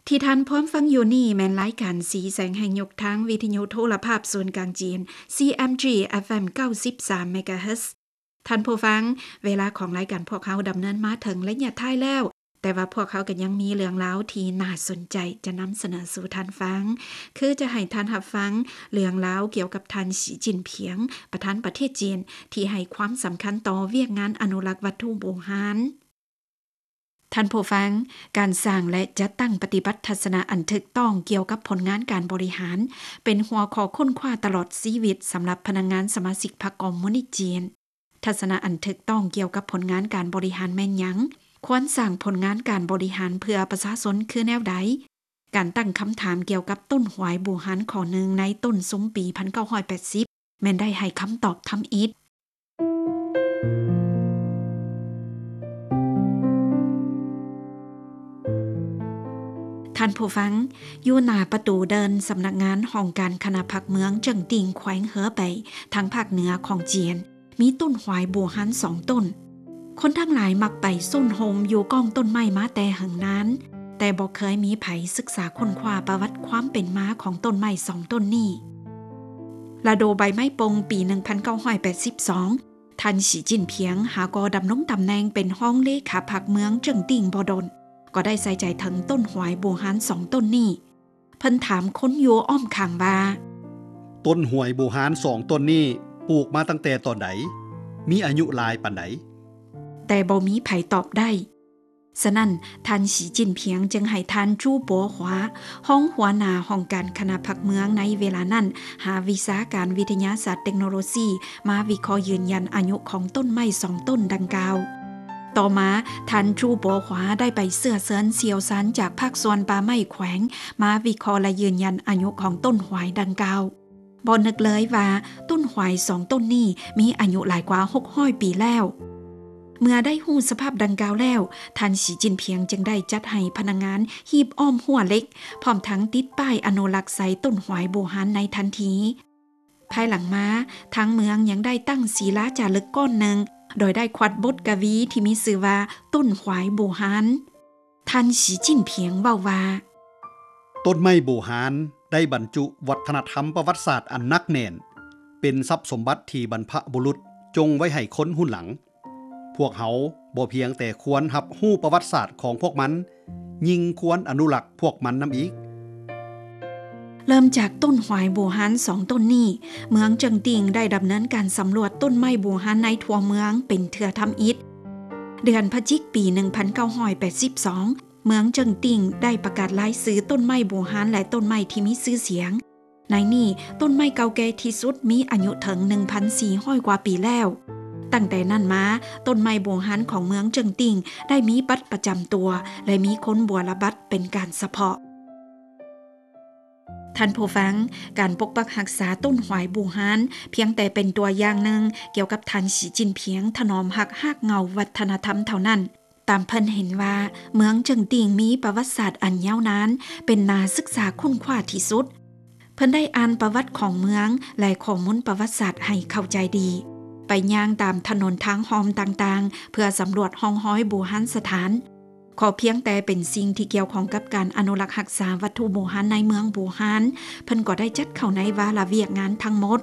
ທີ່ທ່ານພ້ອມຟັງຢູ່ນີ້ແມ່ນລາຍການສີແສງແຫ່ງຍຸກ ທາງວິທະຍຸໂທລະພາບສູນກາງຈີນ ຊີເອັມຈີ ເອັຟເອັມ ເກົ້າສິບສາມ ເມກາເຮີດ. ທ່ານຜູ້ຟັງ, ເວລາຂອງລາຍການພວກເຮົາດຳເນີນມາເຖິງໄລຍະທ້າຍແລ້ວ, ແຕ່ວ່າພວກເຮົາກໍຍັງມີເລື່ອງລາວທີ່ໜ້າສົນໃຈຈະນຳສະເໜີສູ່ທ່ານຟັງ, ຄືຈະໃຫ້ທ່ານຮັບຟັງເລື່ອງລາວກ່ຽວກັບທ່ານ ສີຈິ້ນຜິງ ປະທານປະເທດຈີນ ທີ່ໃຫ້ຄວາມສຳຄັນຕໍ່ວຽກງານອະນຸລັກວັດຖຸບູຮານ. ທ່ານຜູ້ຟັງ, ການສ້າງ ແລະ ຈັດຕັ້ງປະຕິບັດທັດສະນະອັນຖືກຕ້ອງກ່ຽວກັບຜົນງານການບໍລິຫານ ເປັນຫົວຂໍ້ຄົ້ນຄວ້າຕະຫຼອດຊີວິດສຳລັບພະນັກງານສະມາຊິກພັກຄອມມູນິດຈີນ. ທັດສະນະອັນຖືກຕ້ອງກ່ຽວກັບຜົນງານການບໍລິຫານແມ່ນຫຍັງ? ຄວນສ້າງຜົນງານການບໍລິຫານເພື່ອປະຊາຊົນຄືແນວໃດ? ການຕັ້ງຄຳຖາມກ່ຽວກັບຕົ້ນຫວາຍບູຮານຂໍ້ໜຶ່ງໃນຕົ້ນຊຸມປີພັນເກົ້າຮ້ອຍແປດສິບ ແມ່ນໄດ້ໃຫ້ຄຳຕອບທຳອິດ. ທ່ານຜູ້ຟັງ, ຢູ່ໜ້າປະຕູເດີ່ນສຳນັກງານຫ້ອງການຄະນະພັກເມືອງເຈິງຕິງ ແຂວງເຫີເປຍ ທາງພາກເໜືອຂອງຈີນ, ມີຕົ້ນຫວາຍບູຮານສອງຕົ້ນ. ຄົນທັງຫຼາຍມັກໄປໂຊນໂຮມຢູ່ກ້ອງຕົ້ນໄມ້ມາແຕ່ເຫິງນານ, ແຕ່ບໍ່ເຄີຍມີໃຜສຶກສາຄົ້ນຄວ້າປະຫວັດຄວາມເປັນມາຂອງຕົ້ນໄມ້ສອງຕົ້ນນີ້. ລະດູໃບໄມ້ປົ່ງປີໜຶ່ງພັນເກົ້າຮ້ອຍແປດສິບສອງ, ທ່ານ ສີຈິ້ນຜິງ ຫາກໍດຳລົງຕຳແໜ່ງເປັນຮອງເລຂາພັກເມືອງເຈິງຕິງບໍ່ດົນ, ກໍໄດ້ໃສ່ໃຈເຖິງຕົ້ນຫວາຍບູຮານສອງຕົ້ນນີ້. ເພິ່ນຖາມຄົນຢູ່ອ້ອມຂ້າງວ່າ, ຕົ້ນຫວາຍບູຮານສອງຕົ້ນນີ້ປູກມາຕັ້ງແຕ່ຕອນໃດ? ມີອາຍຸຫຼາຍປານໃດ? ແຕ່ບໍ່ມີໃຜຕອບໄດ້. ສະນັ້ນ, ທ່ານ ສີຈິ້ນຜິງ ຈຶ່ງໃຫ້ທ່ານ ຈູ ບົວຫວາ ຮອງຫົວໜ້າຫ້ອງການຄະນະພັກເມືອງໃນເວລານັ້ນ ຫາວິຊາການວິທະຍາສາດເຕັກໂນໂລຊີ ມາວິເຄາະຢືນຢັນອາຍຸຂອງຕົ້ນໄມ້ສອງຕົ້ນດັ່ງກ່າວ. ຕໍ່ມາ, ທ່ານ ຈູ ບົວຫວາ ໄດ້ໄປເຊື້ອເຊີນຊ່ຽວຊານຈາກພາກສ່ວນປ່າໄມ້ແຂວງ ມາວິເຄາະ ແລະ ຢືນຢັນອາຍຸຂອງຕົ້ນຫວາຍດັ່ງກ່າວ. ບໍ່ນຶກເລີຍວ່າຕົ້ນຫວາຍສອງຕົ້ນນີ້ມີອາຍຸຫຼາຍກວ່າຫົກຮ້ອຍປີແລ້ວ. ເມື່ອໄດ້ຮູ້ສະພາບດັ່ງກ່າວແລ້ວ, ທ່ານ ສີຈິ້ນຜິງ ຈຶ່ງໄດ້ຈັດໃຫ້ພະນັກງານຮີບອ້ອມຮົ້ວເຫຼັກ, ພ້ອມທັງຕິດປ້າຍອະນຸລັກໃສ່ຕົ້ນຫວາຍບູຮານໃນທັນທີ. ພາຍຫຼັງມາ, ທາງເມືອງຍັງໄດ້ຕັ້ງສີລາຈາລຶກກ້ອນໜຶ່ງ, ໂດຍໄດ້ຂວັດບົດກະວີທີ່ມີຊື່ວ່າ ຕົ້ນຫວາຍບູຮານ. ທ່ານ ສີຈິ້ນຜິງ ເວົ້າວ່າ, ຕົ້ນໄມ້ບູຮານໄດ້ບັນຈຸວັດທະນະທຳປະຫວັດສາດອັນໜັກແໜ້ນ, ເປັນຊັບສົມບັດທີ່ບັນພະບຸລຸດຈົ່ງໄວ້ໃຫ້ຄົນຮຸ່ນຫຼັງ. ພວກເຮົາບໍ່ພຽງແຕ່ຄວນຮັບຮູ້ປະຫວັດສາດຂອງພວກມັນ, ຍິ່ງຄວນອະນຸລັກພວກມັນນຳອີກ. ເລີ່ມຈາກຕົ້ນຫວາຍບູຮານສອງຕົ້ນນີ້, ເມືອງເຈິງຕິງໄດ້ດຳເນີນການສຳຫຼວດຕົ້ນໄມ້ບູຮານໃນທົ່ວເມືອງເປັນເທື່ອທຳອິດ. ເດືອນພະຈິກ ປີໜຶ່ງພັນເກົ້າຮ້ອຍແປດສິບສອງ, ເມືອງເຈິງຕິງໄດ້ປະກາດລາຍຊື່ຕົ້ນໄມ້ບູຮານ ແລະ ຕົ້ນໄມ້ທີ່ມີຊື່ສຽງ. ໃນນີ້, ຕົ້ນໄມ້ເກົ່າແກ່ທີ່ສຸດມີອາຍຸເຖິງໜຶ່ງພັນສີ່ຮ້ອຍກວ່າປີແລ້ວ. ຕັ້ງແຕ່ນັ້ນມາ, ຕົ້ນໄມ້ບູຮານຂອງເມືອງເຈິງຕິງໄດ້ມີບັດປະຈຳຕົວ ແລະ ມີຄົນບົວລະບັດເປັນການສະເພາະ. ທ່ານຜູ້ຟັງ, ການປົກປັກຮັກສາຕົ້ນຫວາຍບູຮານ ພຽງແຕ່ເປັນຕົວຢ່າງໜຶ່ງກ່ຽວກັບທ່ານ ສີຈິ້ນຜິງ ຖະໜອມຮັກຮາກເຫງົ້າວັດທະນະທຳເທົ່ານັ້ນ. ຕາມເພິ່ນເຫັນວ່າ ເມືອງເຈິງຕິງມີປະຫວັດສາດອັນຍາວນານ, ເປັນໜ້າສຶກສາຄົ້ນຄວ້າທີ່ສຸດ. ເພິ່ນໄດ້ອ່ານປະຫວັດຂອງເມືອງ ແລະ ຂໍ້ມູນປະຫວັດສາດໃຫ້ເຂົ້າໃຈດີ, ໄປຍ່າງຕາມຖະໜົນທາງຮ່ອມຕ່າງໆ ເພື່ອສຳຫຼວດຮ່ອງຮອຍບູຮານສະຖານ. ຂໍພຽງແຕ່ເປັນສິ່ງທີ່ກ່ຽວຂ້ອງກັບການອະນຸລັກຮັກສາວັດຖຸບູຮານໃນເມືອງບູຮານ, ເພິ່ນກໍໄດ້ຈັດເຂົ້າໃນວາລະວຽກງານທັງໝົດ.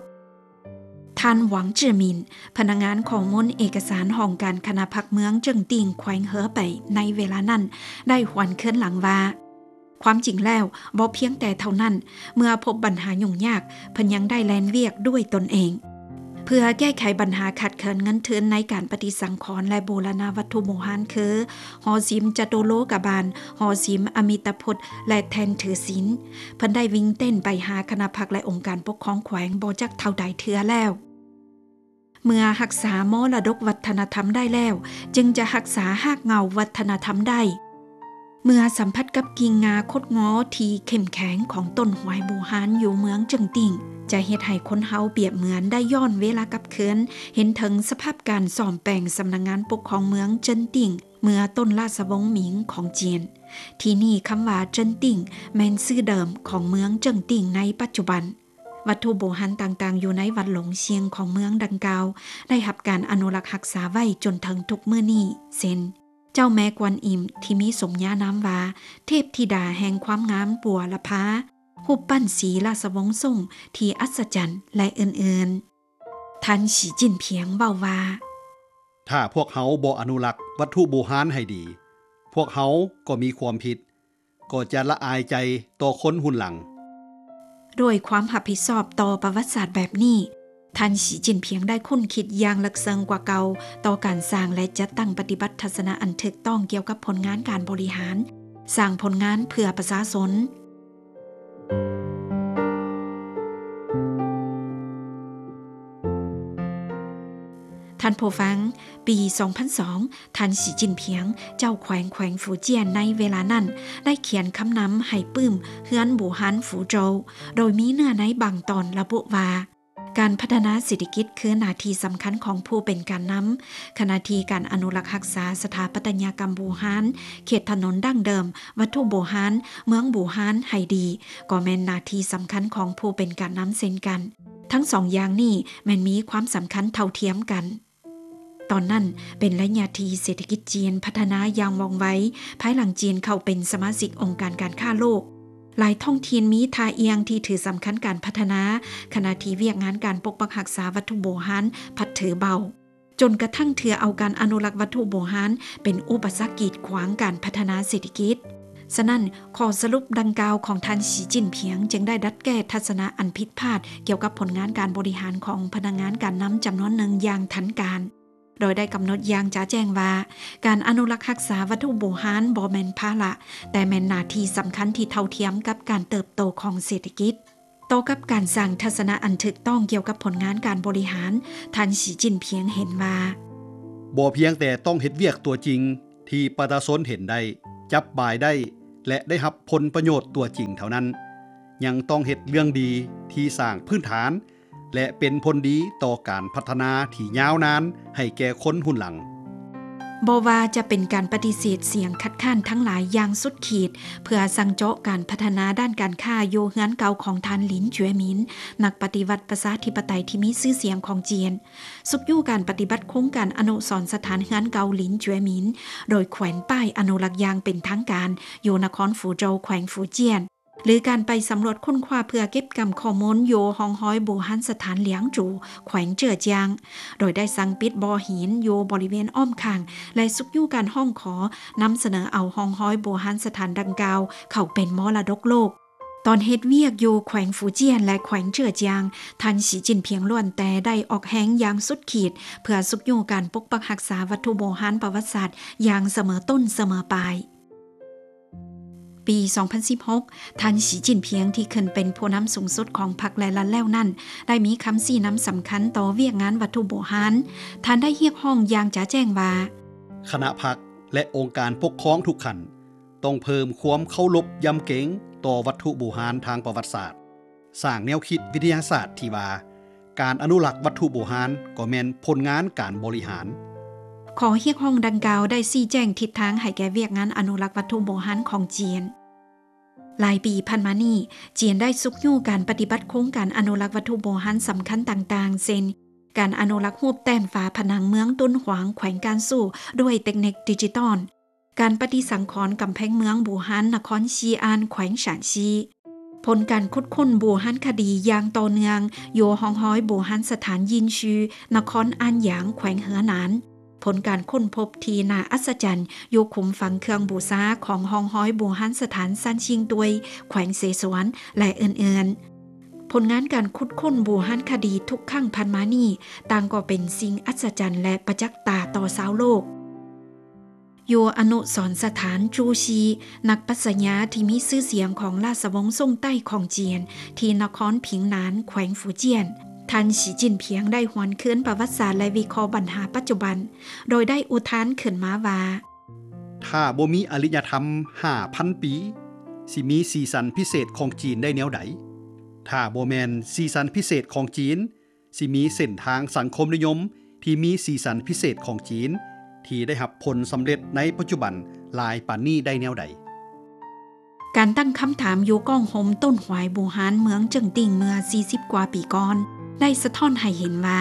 ທ່ານ ຫວັງ ເຈີ່ອໝິນ ພະນັກງານຂໍ້ມູນເອກະສານຫ້ອງການຄະນະພັກເມືອງເຈິງຕິງ ແຂວງເຫີເປຍ ໃນເວລານັ້ນ ໄດ້ຫວນຄືນຫຼັງວ່າ, ຄວາມຈິງແລ້ວ, ບໍ່ພຽງແຕ່ເທົ່ານັ້ນ, ເມື່ອພົບບັນຫາຫຍຸ້ງຍາກ, ເພິ່ນຍັງໄດ້ແລ່ນວຽກດ້ວຍຕົນເອງ ເພື່ອແກ້ໄຂບັນຫາຂາດເຂີນເງິນທຶນໃນການປະຕິສັງຂອນ ແລະ ບູລະນະວັດຖຸບູຮານ ຄື ຫໍສິມຈະຕຸໂລກະບານ, ຫໍສິມອະມິຕະພຸດ ແລະ ແທ່ນຖືສິນ. ເພິ່ນໄດ້ວິ່ງເຕັ້ນໄປຫາຄະນະພັກ ແລະ ອົງການປົກຄອງແຂວງບໍ່ຈັກເທົ່າໃດເທື່ອແລ້ວ. ເມື່ອຮັກສາມໍລະດົກວັດທະນະທຳໄດ້ແລ້ວ, ຈຶ່ງຈະຮັກສາຮາກເຫງົ້າວັດທະນະທຳໄດ້. ເມື່ອສຳຜັດກັບກິ່ງງ່າຄົດງໍທີ່ເຂັ້ມແຂງຂອງຕົ້ນຫວາຍບູຮານຢູ່ເມືອງເຈິງຕິງ, ຈະເຮັດໃຫ້ຄົນເຮົາປຽບເໝືອນໄດ້ຍ້ອນເວລາກັບຄືນ, ເຫັນເຖິງສະພາບການສ້ອມແປງສຳນັກງານປົກຄອງເມືອງເຈິງຕິງ ເມື່ອຕົ້ນລາຊະວົງໝິງຂອງຈີນ. ທີ່ນີ້ຄຳວ່າເຈິງຕິງ ແມ່ນຊື່ເດີມຂອງເມືອງເຈິງຕິງໃນປັດຈຸບັນ. ວັດຖຸບູຮານຕ່າງໆຢູ່ໃນວັດຫຼົງຊຽງຂອງເມືອງດັ່ງກ່າວ ໄດ້ຮັບການອະນຸລັກຮັກສາໄວ້ຈົນເຖິງທຸກມື້ນີ້ ເຊັ່ນ ເຈົ້າແມ່ກວນອິມທີ່ມີສົມຍານາມວ່າເທບທິດາແຫ່ງຄວາມງາມບົວລະພາ, ຮູບປັ້ນສີລາຊະວົງຊົງທີ່ອັດສະຈັນ ແລະ ອື່ນໆ. ທ່ານ ສີຈິ້ນຜິງ ເວົ້າວ່າ ຖ້າພວກເຮົາບໍ່ອະນຸລັກວັດຖຸບູຮານໃຫ້ດີ, ພວກເຮົາກໍມີຄວາມຜິດ, ກໍຈະລະອາຍໃຈຕໍ່ຄົນຮຸ່ນຫຼັງ. ດ້ວຍຄວາມຮັບຜິດຊອບຕໍ່ປະຫວັດສາດແບບນີ້, ທ່ານ ສີຈິ້ນຜິງ ໄດ້ຄົ້ນຄິດຢ່າງເລິກເຊິ່ງກວ່າເກົ່າຕໍ່ການສ້າງ ແລະ ຈັດຕັ້ງປະຕິບັດທັດສະນະອັນຖືກຕ້ອງກ່ຽວກັບຜົນງານການບໍລິຫານ, ສ້າງຜົນງານເພື່ອປະຊາຊົນ. ທ່ານຜູ້ຟັງ, ປີສອງພັນສອງ ທ່ານ ສີຈິ້ນຜິງ ເຈົ້າແຂວງ ແຂວງຟູຈຽນໃນເວລານັ້ນ ໄດ້ຂຽນຄຳນຳໃຫ້ປຶ້ມເຮືອນບູຮານຟູໂຈວ ໂດຍມີເນື້ອໃນບາງຕອນລະບຸວ່າ ການພັດທະນາເສດຖະກິດຄືໜ້າທີ່ສຳຄັນຂອງຜູ້ເປັນການນຳ, ຂະນະທີ່ການອະນຸລັກຮັກສາສະຖາປັດຕະຍາກຳບູຮານ, ເຂດຖະໜົນດັ້ງເດີມ, ວັດຖຸບູຮານ, ເມືອງບູຮານໃຫ້ດີ ກໍແມ່ນໜ້າທີ່ສຳຄັນຂອງຜູ້ເປັນການນຳເຊັ່ນກັນ. ທັງສອງຢ່າງນີ້ແມ່ນມີຄວາມສຳຄັນເທົ່າທຽມກັນ. ຕອນນັ້ນເປັນໄລຍະທີ່ເສດຖະກິດຈີນພັດທະນາຢ່າງວ່ອງໄວ ພາຍຫຼັງຈີນເຂົ້າເປັນສະມາຊິກອົງການການຄ້າໂລກ. ຫຼາຍທ້ອງຖິ່ນມີທ່າອ່ຽງທີ່ຖືສຳຄັນການພັດທະນາ, ຂະນະທີ່ວຽກງານການປົກປັກຮັກສາວັດຖຸບູຮານພັດຖືເບົາ, ຈົນກະທັ່ງຖືເອົາການອະນຸລັກວັດຖຸບູຮານເປັນອຸປະສັກກີດຂວາງການພັດທະນາເສດຖະກິດ. ສະນັ້ນ, ຂໍ້ສະຫຼຸບດັ່ງກ່າວຂອງທ່ານ ສີຈິ້ນຜິງ ຈຶ່ງໄດ້ດັດແກ້ທັດສະນະອັນຜິດພາດກ່ຽວກັບຜົນງານການບໍລິຫານຂອງພະນັກງານການນຳຈຳນວນໜຶ່ງຢ່າງທັນການ, ໂດຍໄດ້ກຳນົດຢ່າງຈະແຈ້ງວ່າ ການອະນຸລັກຮັກສາວັດຖຸບູຮານບໍ່ແມ່ນພາລະ, ແຕ່ແມ່ນໜ້າທີ່ສຳຄັນທີ່ເທົ່າທຽມກັບການເຕີບໂຕຂອງເສດຖະກິດ. ຕໍ່ກັບການສ້າງທັດສະນະອັນຖືກຕ້ອງກ່ຽວກັບຜົນງານການບໍລິຫານ, ທ່ານ ສີຈິ້ນຜິງ ເຫັນວ່າ ບໍ່ພຽງແຕ່ຕ້ອງເຮັດວຽກຕົວຈິງທີ່ປະຊາຊົນເຫັນໄດ້, ຈັບບາຍໄດ້ ແລະ ໄດ້ຮັບຜົນປະໂຫຍດຕົວຈິງເທົ່ານັ້ນ, ຍັງຕ້ອງເຮັດເລື່ອງດີທີ່ສ້າງພື້ນຖານ ແລະ ເປັນຜົນດີຕໍ່ການພັດທະນາທີ່ຍາວນານໃຫ້ແກ່ຄົນຮຸ່ນຫຼັງ. ບໍ່ວ່າຈະເປັນການປະຕິເສດສຽງຄັດຄ້ານທັງຫຼາຍຢ່າງສຸດຂີດ ເພື່ອສັ່ງເຈາະການພັດທະນາດ້ານການຄ້າຢູ່ເຮືອນເກົ່າຂອງທ່ານ ລິນ ຈວຍໝິນ, ນັກປະຕິວັດປະຊາທິປະໄຕທີ່ມີຊື່ສຽງຂອງຈີນ, ຊຸກຍູ້ການປະຕິບັດໂຄງການອະນຸສອນສະຖານເຮືອນເກົ່າ ລິນ ຈວຍໝິນ, ໂດຍແຂວນປ້າຍອະນຸລັກຢ່າງເປັນທາງການຢູ່ນະຄອນຟູໂຈວ ແຂວງຟູຈຽນ, ຫຼື ການໄປສຳຫຼວດຄົ້ນຄວ້າເພື່ອເກັບກຳຂໍ້ມູນຢູ່ຮ່ອງຮອຍບູຮານສະຖານຫຼຽງຈູ ແຂວງເຈີອຈຽງ, ໂດຍໄດ້ສັ່ງປິດບໍ່ຫີນຢູ່ບໍລິເວນອ້ອມຂ້າງ ແລະ ຊຸກຍູ້ການຮ້ອງຂໍນຳສະເໜີເອົາຮ່ອງຮອຍບູຮານສະຖານດັ່ງກ່າວເຂົ້າເປັນມໍລະດົກໂລກ. ຕອນເຮັດວຽກຢູ່ແຂວງຟູຈຽນ ແລະ ແຂວງເຈີອຈຽງ, ທ່ານ ສີຈິ້ນຜິງ ລ້ວນແຕ່ໄດ້ອອກແຮງຢ່າງສຸດຂີດ ເພື່ອຊຸກຍູ້ການປົກປັກຮັກສາວັດຖຸໂບຮານປະຫວັດສາດຢ່າງສະເໝີຕົ້ນສະເໝີປາຍ. ປີສອງພັນສິບຫົກ ທ່ານ ສີຈິ້ນຜິງ ທີ່ຂຶ້ນເປັນຜູ້ນຳສູງສຸດຂອງພັກ ແລະ ລັດແລ້ວນັ້ນ ໄດ້ມີຄຳຊີ້ນຳສຳຄັນຕໍ່ວຽກງານວັດຖຸໂບຮານ. ທ່ານໄດ້ຮຽກຮ້ອງຢ່າງຈະແຈ້ງວ່າ ຄະນະພັກ ແລະ ອົງການປົກຄອງທຸກຂັ້ນ ຕ້ອງເພີ່ມຄວາມເຄົາລົບຢຳເກງຕໍ່ວັດຖຸບູຮານທາງປະຫວັດສາດ, ສ້າງແນວຄິດວິທະຍາສາດທີ່ວ່າ ການອະນຸລັກວັດຖຸບູຮານກໍແມ່ນຜົນງານການບໍລິຫານ. ຂໍ້ຮຽກຮ້ອງດັ່ງກ່າວໄດ້ຊີ້ແຈງທິດທາງໃຫ້ແກ່ວຽກງານອະນຸລັກວັດຖຸໂບຮານຂອງຈີນ. ຫຼາຍປີຜ່ານມານີ້, ຈີນໄດ້ຊຸກຍູ້ການປະຕິບັດໂຄງການອະນຸລັກວັດຖຸໂບຮານສຳຄັນຕ່າງໆ ເຊັ່ນ ການອະນຸລັກຮູບແຕ້ມຝາຜະໜັງເມືອງຕົ້ນຫວາງ ແຂວງການຊູ້ ດ້ວຍເຕັກນິກດິຈິຕອນ, ການປະຕິສັງຂອນກຳແພງເມືອງບູຮານນະຄອນຊີອານ ແຂວງຊານຊີ, ຜົນການຂຸດຄົ້ນບູຮານຄະດີຢ່າງຕໍ່ເນື່ອງຢູ່ຮ່ອງຮອຍບູຮານສະຖານຢິນຊີ ນະຄອນອານຢາງ ແຂວງເຫີໜານ, ຜົນການຄົ້ນພົບທີ່ໜ້າອັດສະຈັນຢູ່ຂຸມຝັງເຄື່ອງບູຊາຂອງຮ່ອງຮອຍບູຮານສະຖານຊານຊິງຕວຍ ແຂວງເສສວນ ແລະ ອື່ນໆ. ຜົນງານການຂຸດຄົ້ນບູຮານຄະດີທຸກຄັ້ງຜ່ານມານີ້ ຕ່າງກໍເປັນສິ່ງອັດສະຈັນ ແລະ ປະຈັກຕາຕໍ່ຊາວໂລກ. ຢູ່ອະນຸສອນສະຖານຈູຊີ ນັກປັດຊະຍາທີ່ມີຊື່ສຽງຂອງລາຊະວົງຊົງໃຕ້ຂອງຈີນ ທີ່ນະຄອນຜິງໜານ ແຂວງຟູຈຽນ, ທ່ານ ສີຈິ້ນຜິງ ໄດ້ຫວນຄືນປະຫວັດສາດ ແລະ ວິເຄາະບັນຫາປັດຈຸບັນ, ໂດຍໄດ້ອຸທານຂຶ້ນມາວ່າ ຖ້າບໍ່ມີອະລິຍະທຳຫ້າພັນປີ, ຊິມີສີສັນພິເສດຂອງຈີນໄດ້ແນວໃດ? ຖ້າບໍ່ແມ່ນສີສັນພິເສດຂອງຈີນ, ຊິມີເສັ້ນທາງສັງຄົມນິຍົມທີ່ມີສີສັນພິເສດຂອງຈີນ ທີ່ໄດ້ຮັບຜົນສຳເລັດໃນປັດຈຸບັນຫຼາຍປານນີ້ໄດ້ແນວໃດ? ການຕັ້ງຄຳຖາມຢູ່ກ້ອງໂຮມຕົ້ນຫວາຍບູຮານເມືອງເຈິງຕິ່ງເມື່ອສີ່ສິບກວ່າປີກ່ອນ ໄດ້ສະທ້ອນໃຫ້ເຫັນວ່າ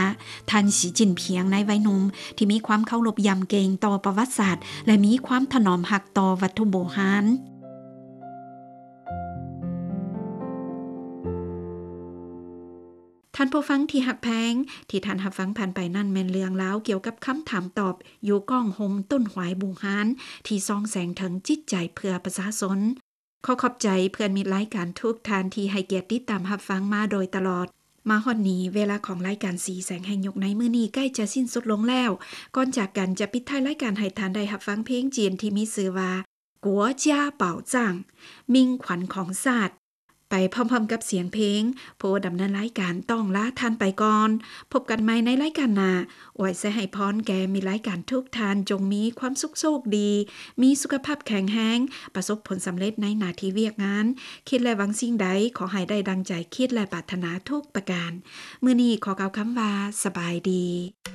ທ່ານ ສີຈິ້ນຜິງ ໃນໄວໜຸ່ມ ທີ່ມີຄວາມເຄົາລົບຢຳເກງຕໍ່ປະຫວັດສາດ ແລະ ມີຄວາມຖະໜອມຮັກຕໍ່ວັດຖຸບູຮານ. ທ່ານຜູ້ຟັງທີ່ຮັກແພງ, ທີ່ທ່ານຮັບຟັງຜ່ານໄປນັ້ນ ແມ່ນເລື່ອງລາວກ່ຽວກັບຄຳຖາມຕອບ ຢູ່ກ້ອງຮົ່ມຕົ້ນຫວາຍບູຮານ ທີ່ສ່ອງແສງເຖິງຈິດໃຈເພື່ອປະຊາຊົນ. ຂໍຂອບໃຈເພື່ອນມິດລາຍການທຸກທ່ານທີ່ໃຫ້ກຽດຕິດຕາມຮັບຟັງມາໂດຍຕະຫຼອດ. ມາຮອດນີ້ ເວລາຂອງລາຍການສີແສງແຫ່ງຍຸກໃນມື້ນີ້ໃກ້ຈະສິ້ນສຸດລົງແລ້ວ. ກ່ອນຈາກກັນ ຈະປິດທ້າຍລາຍການໃຫ້ທ່ານໄດ້ຮັບຟັງເພງຈີນທີ່ມີຊື່ວ່າ 国家宝藏 มิ่ງຂວັນຂອງຊາດ ໄປພ້ອມໆກັບສຽງເພງ. ຜູ້ດຳເນີນລາຍການຕ້ອງລາທ່ານໄປກ່ອນ. ພົບກັນໃໝ່ໃນລາຍການໜ້າ. ອວຍໄຊໃຫ້ພອນແກ່ມິດລາຍການທຸກທ່ານ ຈົ່ງມີຄວາມສຸກໂຊກດີ, ມີສຸຂະພາບແຂງແຮງ, ປະສົບຜົນສຳເລັດໃນໜ້າທີ່ວຽກງານ. ຄິດ ແລະ ຫວັງສິ່ງໃດ ຂໍໃຫ້ໄດ້ດັ່ງໃຈຄິດ ແລະ ປາດຖະໜາທຸກປະການ. ມື້ນີ້ຂໍກ່າວຄຳວ່າ ສະບາຍດີ.